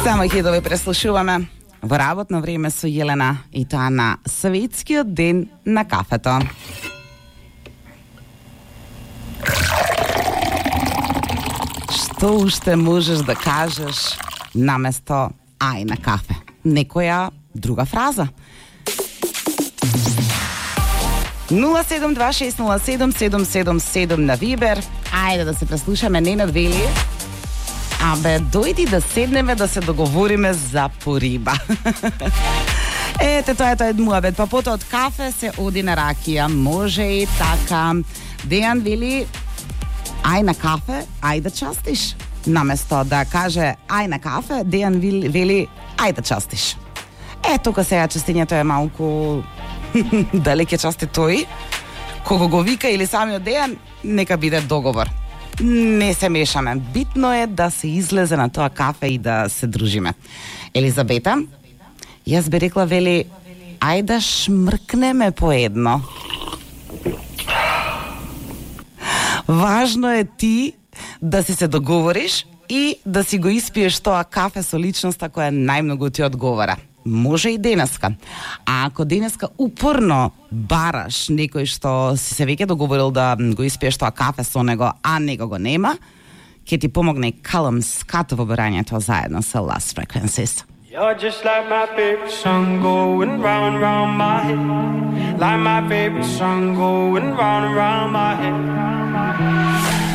Само хитови преслушуваме во работно време со Јелена и тоа на Светскиот ден на кафето. Што уште можеш да кажеш наместо ај на кафе? Некоја друга фраза? 072607777 на Вибер. Ајде да се преслушаме Ненад вели. Абе, дојди да седнеме да се договориме за пориба. Ете, тоа е муабет. Па потоа од кафе се оди на ракија. Може и така. Дејан вели, ај на кафе, ај да частиш. Наместо да каже ај на кафе, Дејан вели, ај да частиш. Тука сега частењето е малку дали ќе части тој, кого го вика или самиот Дејан, нека биде договор. Не се мешаме. Битно е да се излезе на тоа кафе и да се дружиме. Елизабета, јас би рекла, вели, ај да шмркнеме по едно. Важно е ти да си се договориш и да си го испиеш тоа кафе со личноста која најмногу ти одговара. Може и денеска. А ако денеска упорно бараш некој што си се веќе договорил да го испиеш тоа кафе со него, а него го нема, ќе ти помогне и Callum Scott во барањето заедно со Lost Frequencies. You're just like my favorite song going round and round my head. Like my favorite song going round and round my head.